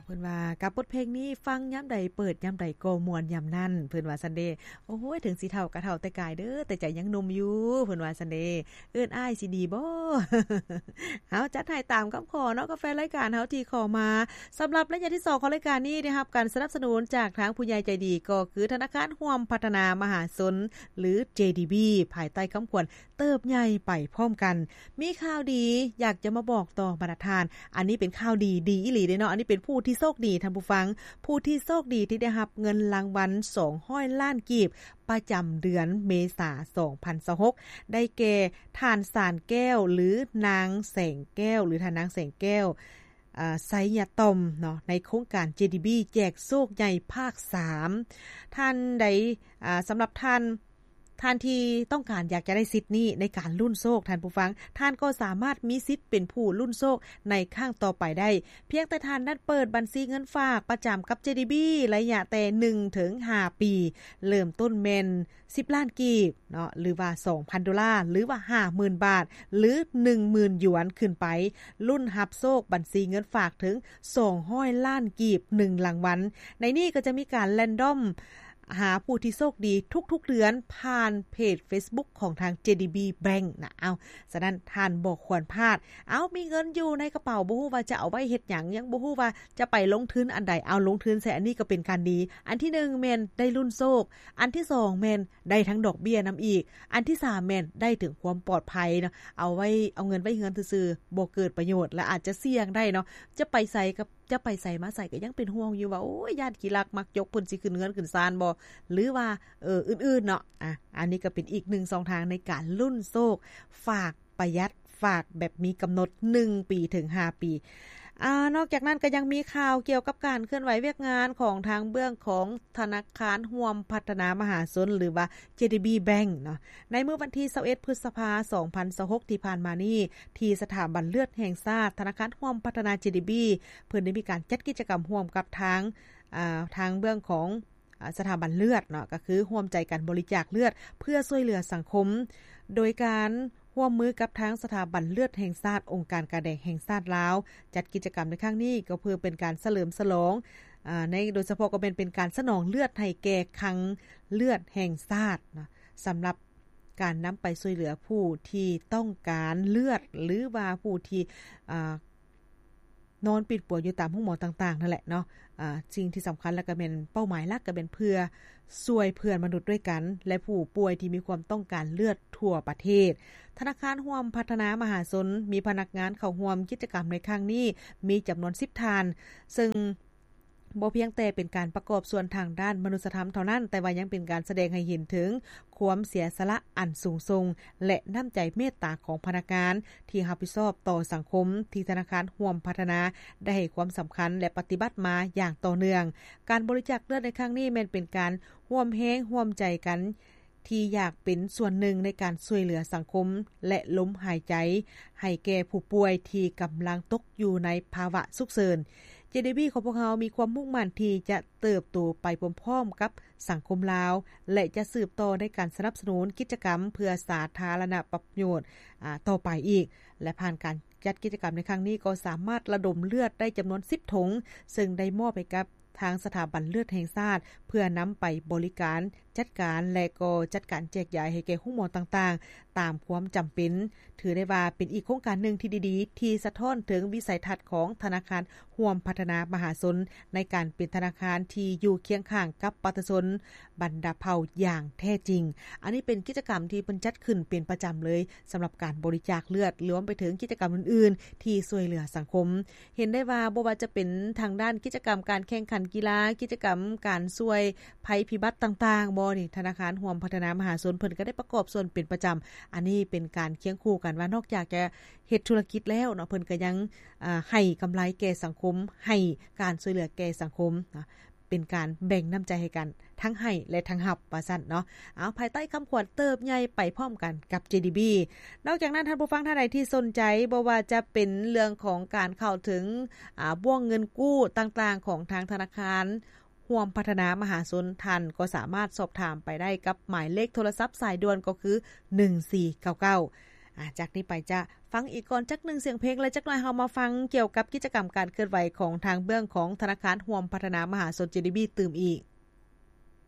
ເພິ່ນວ່າ ກັບບົດເພງນີ້ ຟັງຍາມໃດ ເປີດຍາມໃດກໍມ່ວນຍາມນັ້ນ ເພິ່ນວ່າຊັ້ນເດ. ໂອ້ຍ ເຖິງຊິເຖົ້າກໍເຖົ້າແຕ່ກາຍເດີ ແຕ່ໃຈຍັງໜຸ່ມຢູ່ ເພິ່ນວ່າຊັ້ນເດ. ເອີ້ນອ້າຍຊິດີບໍ່? ເອົາ ຈັດໃຫ້ຕາມຄຳຂໍເນາະ ກັບແຟນລາຍການເຮົາທີ່ຂໍມາ. ສຳລັບໄລຍະທີສອງຂອງລາຍການນີ້ ໄດ້ຮັບການສະໜັບສະໜູນຈາກທາງຜູ້ໃຫຍ່ໃຈດີ ກໍຄືທະນາຄານຮ່ວມພັດທະນາມະຫາຊົນ ຫຼື ເຈດີບີ ພາຍໃຕ້ຄຳຂວັນ ເຕີບໃຫຍ່ໄປພ້ອມກັນ. ມີຂ່າວດີຢາກຈະມາບອກຕໍ່ບັນດາທ່ານ. ອັນນີ້ເປັນຂ່າວດີ ດີອີ່ຫຼີເດ້ເນາະ. ອັນນີ້ເປັນຜູ້ທີ່ໂຊກດີທ່ານຜູ້ຟັງ, ຜູ້ທີ່ໂຊກດີທີ່ໄດ້ຮັບເງິນລາງວັນສອງຮ້ອຍລ້ານກີບ ປະຈຳເດືອນເມສາ ສອງພັນຊາວຫົກ ໄດ້ແກ່ ທ່ານ ສານແກ້ວ ຫຼື ນາງແສງແກ້ວ ຫຼື ທ່ານນາງແສງແກ້ວ ອາ ໄຊຍະຕອມເນາະ ໃນໂຄງການ ເຈດີບີ ແຈກໂຊກໃຫຍ່ພາກສາມ. ທ່ານໃດ ອາ ສຳລັບທ່ານ ທ່ານທີ່ຕ້ອງການຢາກຈະໄດ້ສິດນີ້ໃນການລຸ້ນໂຊກ ທ່ານຜູ້ຟັງ, ທ່ານກໍສາມາດມີສິດເປັນຜູ້ລຸ້ນໂຊກໃນຄັ້ງຕໍ່ໄປໄດ້ ພຽງແຕ່ທ່ານນັ້ນເປີດບັນຊີເງິນຝາກປະຈຳກັບ ເຈດີບີ ໄລຍະແຕ່ໜຶ່ງເຖິງຫ້າປີ, ເລີ່ມຕົ້ນແມ່ນສິບລ້ານກີບເນາະ ຫຼືວ່າສອງພັນໂດລາ ຫຼືວ່າຫ້າໝື່ນບາດ ຫຼືໜຶ່ງໝື່ນຢວນຂຶ້ນໄປ, ລຸ້ນຮັບໂຊກບັນຊີເງິນຝາກເຖິງສອງຮ້ອຍລ້ານກີບ ໜຶ່ງລາງວັນ. ໃນນີ້ກໍຈະມີການແຣນດອມ ຫາຜູ້ທີ່ໂຊກດີທຸກໆເດືອນຜ່ານເພຈເຟສບຸກຂອງທາງ ເຈດີບີ Bank ນະ. ເອົ້າ ສະນັ້ນທ່ານບໍ່ຄວນພາດ. ເອົ້າ ມີເງິນຢູ່ໃນກະເປົາ ບໍ່ຮູ້ວ່າຈະເອົາໄວ້ເຮັດຫຍັງ, ຍັງບໍ່ຮູ້ວ່າຈະໄປລົງທຶນອັນໃດ. ເອົາ ລົງທຶນໃສ່ອັນນີ້ກໍເປັນການດີ. ອັນທີໜຶ່ງແມ່ນໄດ້ລຸ້ນໂຊກ, ອັນທີສອງແມ່ນໄດ້ທັງດອກເບ້ຍນຳອີກ, ອັນທີສາມແມ່ນໄດ້ເຖິງຄວາມປອດໄພເນາະ. ເອົາໄວ້ ເອົາເງິນໄວ້ເຮືອນຊື່ໆ ບໍ່ເກີດປະໂຫຍດ ແລະ ອາດຈະສ່ຽງໄດ້ເນາະ. ຈະໄປໃສກໍ ຈະໄປໃສມາໃສກໍຍັງເປັນຫ່ວງຢູ່ວ່າ ໂອ້ຍ ຢ້ານຂີ້ລັກມັກຈົກເພິ່ນຊິຂຶ້ນເຮືອນຂຶ້ນຊານບໍ່ ຫຼືວ່າ ເອີ ອື່ນໆເນາະ. ອາ ອັນນີ້ກໍເປັນອີກໜຶ່ງຊ່ອງທາງໃນການລຸ້ນໂຊກ ຝາກປະຢັດ ຝາກແບບມີກຳນົດ ໜຶ່ງປີເຖິງຫ້າປີ. ອາ ນອກຈາກນັ້ນກໍຍັງມີຂ່າວກ່ຽວກັບການເຄື່ອນໄຫວວຽກງານຂອງທາງເບື້ອງຂອງທະນາຄານຮ່ວມພັດທະນາມະຫາຊົນ ຫຼືວ່າ ເຈດີບີ Bank ເນາະ. ໃນມື້ວັນທີຊາວເອັດ ພຶດສະພາ ສອງພັນຊາວຫົກ ທີ່ຜ່ານມານີ້ ທີ່ສະຖາບັນເລືອດແຫ່ງຊາດ ທະນາຄານຮ່ວມພັດທະນາ ເຈດີບີ ເພິ່ນໄດ້ມີການຈັດກິດຈະກຳຮ່ວມກັບທາງ ອາ ທາງເບື້ອງຂອງ ອາ ສະຖາບັນເລືອດເນາະ ກໍຄືຮ່ວມໃຈກັນບໍລິຈາກເລືອດເພື່ອຊ່ວຍເຫຼືອສັງຄົມ ໂດຍການຮ່ວມມືກັບທາງສະຖາບັນເລືອດແຫ່ງຊາດ ອົງການກາແດງແຫ່ງຊາດລາວ. ຈັດກິດຈະກຳໃນຄັ້ງນີ້ກໍເພື່ອເປັນການສະເຫຼີມສະຫຼອງ ອາ ໃນ ໂດຍສະເພາະກໍແມ່ນເປັນການສະໜອງເລືອດໃຫ້ແກ່ຄັງເລືອດແຫ່ງຊາດເນາະ ສຳລັບການນຳໄປຊ່ວຍເຫຼືອຜູ້ທີ່ຕ້ອງການເລືອດ ຫຼືວ່າຜູ້ທີ່ ອາ ນອນປິ່ນປົວຢູ່ຕາມໂຮງໝໍຕ່າງໆນັ້ນແຫຼະເນາະ. ອາ ສິ່ງທີ່ສຳຄັນ ແລະ ກໍແມ່ນເປົ້າໝາຍຫຼັກ ກໍແມ່ນເພື່ອຊ່ວຍເພື່ອນມະນຸດດ້ວຍກັນ ແລະ ຜູ້ປ່ວຍທີ່ມີຄວາມຕ້ອງການເລືອດທົ່ວປະເທດ. ທະນາຄານຮ່ວມພັດທະນາມະຫາຊົນ ມີພະນັກງານເຂົ້າຮ່ວມກິດຈະກຳໃນຄັ້ງນີ້ ມີຈຳນວນສິບທ່ານ ເຊິ່ງ ບໍ່ພຽງແຕ່ເປັນການປະກອບສ່ວນທາງດ້ານມະນຸດສະທຳເທົ່ານັ້ນ, ແຕ່ວ່າຍັງເປັນການສະແດງໃຫ້ເຫັນເຖິງຄວາມເສຍສະຫຼະອັນສູງສົ່ງ ແລະ ນ້ຳໃຈເມດຕາຂອງພະນັກງານທີ່ຮັບຜິດຊອບຕໍ່ສັງຄົມ ທີ່ທະນາຄານຮ່ວມພັດທະນາໄດ້ໃຫ້ຄວາມສຳຄັນ ແລະ ປະຕິບັດມາຢ່າງຕໍ່ເນື່ອງ. ການບໍລິຈາກເລືອດໃນຄັ້ງນີ້ແມ່ນເປັນການຮ່ວມແຮງຮ່ວມໃຈກັນ ທີ່ຢາກເປັນສ່ວນໜຶ່ງໃນການຊ່ວຍເຫຼືອສັງຄົມ ແລະ ລົມຫາຍໃຈໃຫ້ແກ່ຜູ້ປ່ວຍທີ່ກຳລັງຕົກຢູ່ໃນພາວະສຸກເສີນ. ເຈດີບີ ຂອງພວກເຮົາມີຄວາມມຸ່ງໝັ້ນທີ່ຈະເຕີບໂຕໄປພ້ອມໆກັບສັງຄົມລາວ ແລະ ຈະສືບຕໍ່ໃນການສະໜັບສະໜູນກິດຈະກຳເພື່ອສາທາລະນະປະໂຫຍດ ອາ ຕໍ່ໄປອີກ ແລະ ຜ່ານການຈັດກິດຈະກຳໃນຄັ້ງນີ້ ກໍສາມາດລະດົມເລືອດໄດ້ຈຳນວນສິບຖົງ ເຊິ່ງໄດ້ມອບໃຫ້ກັບ ທາງສະຖາບັນເລືອດແຫ່ງຊາດ ເພື່ອນຳໄປບໍລິການຈັດການ ແລະ ກໍຈັດການແຈກຢາຍໃຫ້ແກ່ໂຮງໝໍຕ່າງໆ ຕາມຄວາມຈຳເປັນ. ຖືໄດ້ວ່າເປັນອີກໂຄງການໜຶ່ງທີ່ດີໆ ທີ່ສະທ້ອນເຖິງວິໄສທັດຂອງທະນາຄານຮ່ວມພັດທະນາມະຫາຊົນ ໃນການເປັນທະນາຄານທີ່ຢູ່ຄຽງຂ້າງກັບປະຊາຊົນບັນດາເຜົ່າຢ່າງແທ້ຈິງ. ອັນນີ້ເປັນກິດຈະກຳທີ່ເພິ່ນຈັດຂຶ້ນເປັນປະຈຳເລີຍ ສຳລັບການບໍລິຈາກເລືອດ ລວມໄປເຖິງກິດຈະກຳອື່ນໆ ທີ່ຊ່ວຍເຫຼືອສັງຄົມ. ເຫັນໄດ້ວ່າບໍ່ວ່າຈະເປັນທາງດ້ານກິດຈະກຳການແຂ່ງຂັນກິລາ, ກິດຈະກຳການຊ່ວຍໄພພິບັດຕ່າງໆບໍນີ້ ທະນາຄານຮ່ວມພັດທະນາມະຫາຊົນເພິ່ນກໍໄດ້ປະກອບສ່ວນເປັນປະຈຳ. ອັນນີ້ເປັນການຄຽງຄູ່ກັນວ່າ ນອກຈາກຈະເຮັດທຸລະກິດແລ້ວເນາະ ເພິ່ນກໍຍັງ ອາ ໃຫ້ກຳໄລແກ່ສັງຄົມ, ໃຫ້ການຊ່ວຍເຫຼືອແກ່ສັງຄົມເນາະ. ເປັນການແບ່ງນ້ຳໃຈໃຫ້ກັນ ທັງໃຫ້ ແລະ ທັງຮັບ ວ່າຊັ້ນເນາະ. ເອົາ ພາຍໃຕ້ຄຳຂວັນເຕີບໃຫຍ່ໄປພ້ອມກັນກັບ ເຈດີບີ. ນອກຈາກນັ້ນ ທ່ານຜູ້ຟັງທ່ານໃດທີ່ສົນໃຈ ບໍ່ວ່າຈະເປັນເລື່ອງຂອງການເຂົ້າເຖິງ ອາ ບ່ວງເງິນກູ້ຕ່າງໆຂອງທາງທະນາຄານຮ່ວມພັດທະນາມະຫາຊົນ, ທ່ານກໍສາມາດສອບຖາມໄປໄດ້ກັບໝາຍເລກໂທລະສັບສາຍດ່ວນ ກໍຄື ໜຶ່ງສີ່ເກົ້າເກົ້າ. ອາ ຈາກນີ້ໄປຈະຟັງອີກກ່ອນຈັກໜຶ່ງສຽງເພງ ແລະ ຈັກໜ່ອຍເຮົາມາຟັງກ່ຽວກັບກິດຈະກຳການເຄື່ອນໄຫວຂອງທາງເບື້ອງຂອງທະນາຄານຮ່ວມພັດທະນາມະຫາຊົນ GDB ຕື່ມອີກ.